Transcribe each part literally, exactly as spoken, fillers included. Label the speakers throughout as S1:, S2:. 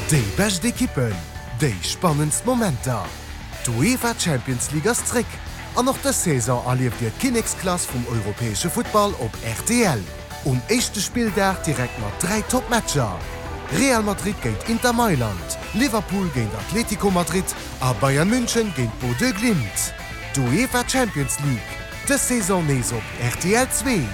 S1: Déi bescht Ekippen, déi spannendst Momenter, d'UEFA Champions League ass zréck an och dës Saison erlieft Dir d'Kinneksklass vum europäesche Futtball op rtl. Um éischte Spilldag direkt mat dräi Top-Matcher, Real Madrid géint Inter Mailand, Liverpool géint Atlético Madrid a Bayern München géint Bodø Glimt. D'UEFA Champions League, dës Saison nees op rtl zwee.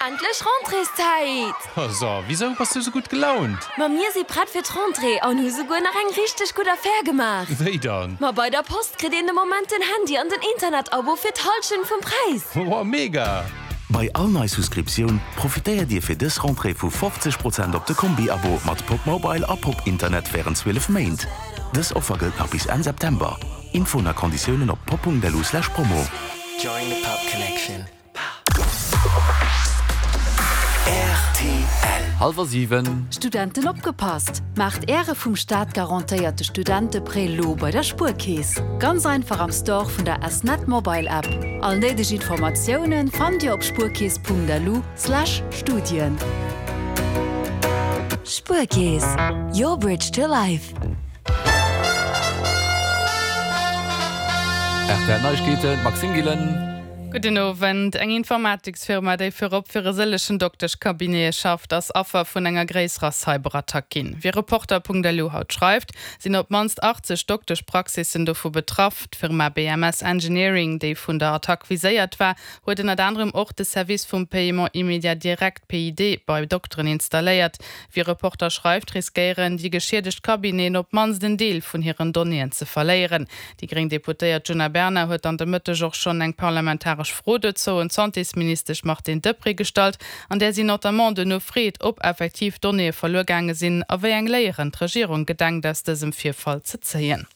S2: Endlech Rentréeszäit!
S3: So, wisou bass du sou gutt gelaunt?
S2: Ma mir si prett fir d'Rentrée an hu souguer nach eng richteg gutt Affär gemaach!
S3: Wéi dann?
S2: Ma bei der Post kritt een de Moment den Handy an den Internet-Abo fir d'Hallschent vum Präis!
S3: Woah, mega!
S4: Bei all nei Souscriptioun profitéiert Dir fir dës Rentrée vu fofzeg Prozent op de Kombi-Abo mat Popmobile a Popinternet wärend zwielef Méint. Dës Offer gëllt nach bis Enn September. Infoen a Konditiounen op pop.lu slash promo.
S5: Join the Pop Connection. Rtl.
S6: Hallwer siwen.
S7: Studenten opgepasst! Maacht Äre vum Staat garantéierte Studenteprêt lo bei der Spuerkeess. Ganz einfach am Store vun der S-Net Mobile App. All néideg Informatioune fannt Dir op spuerkeess.lu slash Studien.
S2: Spuerkeess, your bridge to life.
S6: Rtl Neiegkeeten, Maxime Gillen.
S8: Gudden Owend. Eng Informatiksfirma, déi virop fir e sëllechen Dokteschcabinete schafft, ass Affer vun enger gréisserer Cyberattack ginn. Wéi Reporter.lu haut schreift, sinn op d'mannst achtzeg Dokteschpraxissen dovu betraff. D'Firma B M S Engineering, déi vun der Attack viséiert war, huet ënnert anerem och de Service vum Paiement immédiat direct, P I D, bei Dokteren installéiert. Wéi Reporter schreift, riskéieren déi geschiedegt Cabineten op d'mannst en Deel vun hiren Donnéeën ze verléieren. Déi gréng Deputéiert Djuna Bernard huet an de Mëtteg och schonn eng parlamentaresch Fro dozou un d'Santésministesch Martine Deprez gestallt, an där si notamment duerno freet, ob effektiv Donnéeë verluer gaange sinn a wéi eng Léieren d'Regierung gedenkt aus dësem Virfall ze zéien.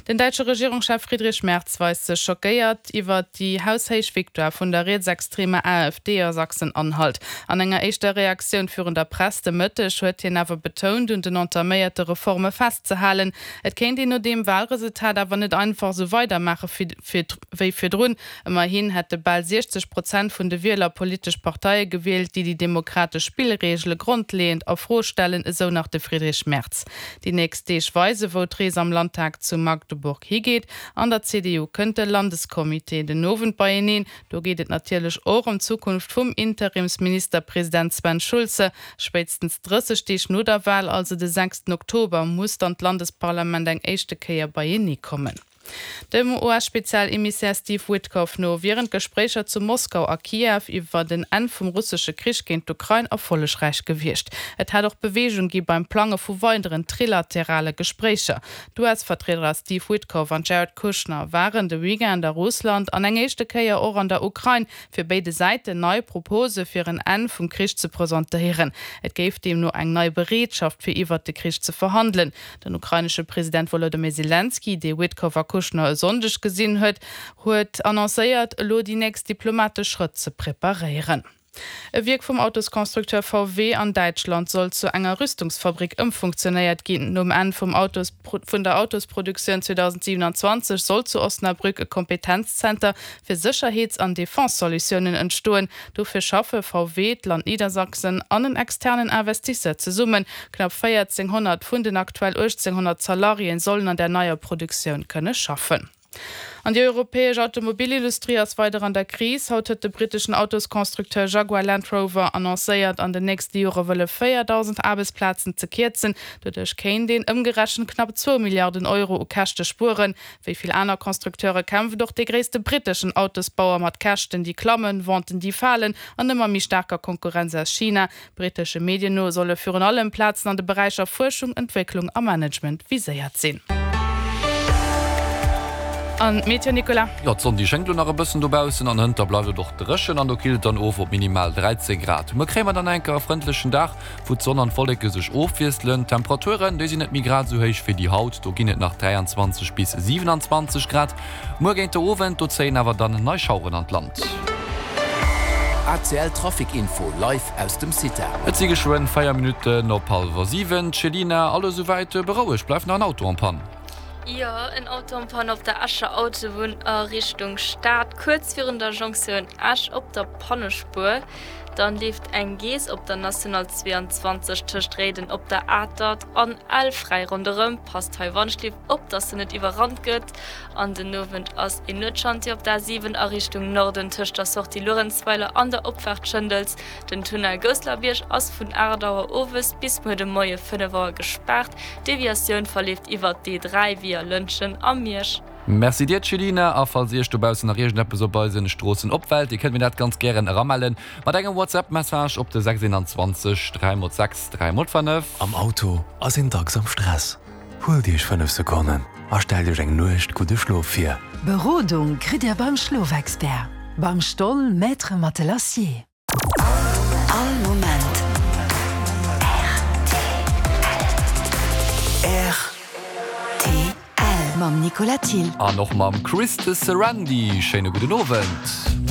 S8: Den däitsche Regierungschef Friedrich Merz weist sech schockéiert iwwer déi haushéich Victoire vun der rietsextremer A F D a Sachsen-Anhalt. An enger éischter Reaktioun virun der Press de Mëtteg huet hien awer betount, un den entaméierte Reforme festzehalen. Et kéint een no deem Walresultat awer net einfach esou weidermaache wéi virdrun. Ëmmerhin hätte bal siechzeg Prozent vun de Wieler politesch Parteie gewielt, déi déi demokratesch Spillreegele grondleeënd a Fro stellen, esou nach de Friedrich Merz. Déi nächst Deeg weise wou d'Rees am Landtag zu Magdeburg higeet. An der C D U kënnt de Landescomité den Owend beieneen. Do geet et natierlech och ëm d'Zukunft vum Interimsministerpresident Sven Schulze. Spéitstens drësseg Deeg no der Wal, also de sechsten Oktober, muss dann d'Landesparlament eng éischte Kéier beienee kommen. Dem U S-Spezialemissär Steve Witkoff no wieren d'Gespréicher zu Moskau a Kiew iwwer den Enn vum russesche Krich géint d'Ukrain erfollegräich gewiescht. Et hätt och Beweegung gi beim Plange vu weideren trilaterale Gespréicher. D'U S-Vertrieder Steve Witkoff an Jared Kushner waren de Weekend a Russland an eng éischte Kéier och an der Ukrain, fir béide Säiten nei Propose fir en Enn vum Krich ze presentéieren. Et géif deemno eng nei Bereetschaft fir iwwer de Krich ze verhandelen. Den ukrainesche President Wolodymyr Selenskyj, dee Witkoff a Kushner e Sonndeg gesinn huet, huet annoncéiert, elo déi nächst diplomatesch Schrëtt ze preparéieren. E Wierk vum Autosconstructeur V W an Däitschland soll zu enger Rüstungsfabrik ëmfunktionéiert ginn. Nom Enn vum Autos vun der Autosproduktioun zweedausendsiewenanzwanzeg soll zu Osnabrück e Kompetenzzenter fir Sécherheets an Defense-Solutiounen entstoen. Dofir schaffe V W, d'Land Niedersachsen an en externen Investisseur zesummen. Knapp véierzénghonnert vun den aktuell uechtzénghonnert Salariéen sollen an der neier Produktioun kënne schaffen. An déi europäesch Automobilindustrie ass weider an der Kris. Haut huet de britteschen Autosconstructeur Jaguar Land Rover annoncéiert, an den nächste Jore wëlle véierdausend Aarbechtsplazen ze kierzen. Doduerch kéint een ëmgerechent knapp zwou Milliarden Euro u Käschte spueren. Wéi vill aner Constructeure kämpft och dee gréisste britteschen Autosbauer mat Käschten, déi klammen, Venten, déi falen an ëmmer méi staarker Konkurrenz aus China. Brittesche Medien no solle virun allem Plazen an de Beräicher Fuerschung, Entwécklung a Management viséiert sinn. An d'Meteo, Nicolas?
S6: Jo, d'Sonn déi schéngt lo nach e bëssen dobaussen an hënter bleift et och dréchen an do killt et dann of op minimal dräizéng Grad. Muer kréie mer dann enker e frëndlechen Dag, wou d'Sonn an d'Wolleke sech ofwiesselen. D'Temperaturen, déi sinn net méi grad esou héich wéi déi haut, do ginn et nach dräianzwanzeg bis siewenanzwanzeg Grad. Muer géint de Owend, do zéien awer dann nei Schaueren an d'Land.
S5: A C L Trafic Info live aus dem CITA.
S6: Et si geschwënn véier Minutten op hallwer siwen. Céline, alles esouwäit berouegt? Bleift nach en Auto en panne?
S9: Jo, en Auto en panne op der Escher Autobunn a Richtung Stad, kuerz virun der Jonktioun Esch op der Pannespuer. Dann leeft eng Geess op der National zweeanzwanzeg tëscht Réiden op der Atert an Ell fräi ronderëm. Passt hei wannschliff op, dass se net iwwerrannt gëtt. An den Owend ass een Nuetschantier op der A siwen a Richtung Norden tëscht der Sortie Luerenzweiler an der Opfaart Schëndels. Den Tunnel Gousselerbierg ass vun aacht Auer owes bis muer de Moie fënnef Auer gespaart. D'Deviatioun verleeft iwwert d'E dräi via Lëntgen a Miersch.
S6: Merci dir Céline, a falls iech dobaussen nach iergendeppes op eisen Stroossen opfällt, dir kënnt mir dat ganz gären eramellen mat engem WhatsApp Message op de sechs eenanzwanzeg dräi mol sechs dräi mol fënnef.
S10: Am Auto ass een dacks am Stress. Huelt Iech fënnef Sekonnen a stellt Iech eng Nuecht gudde Schlof vir.
S11: Berodung kritt Dir beim Schlofexpert, beim Stoll Maître Matelassier.
S12: All Moment rtl. Mam Nicolas Thill.
S6: An och mam Chris de Sarandy. Schéine gudden Owend.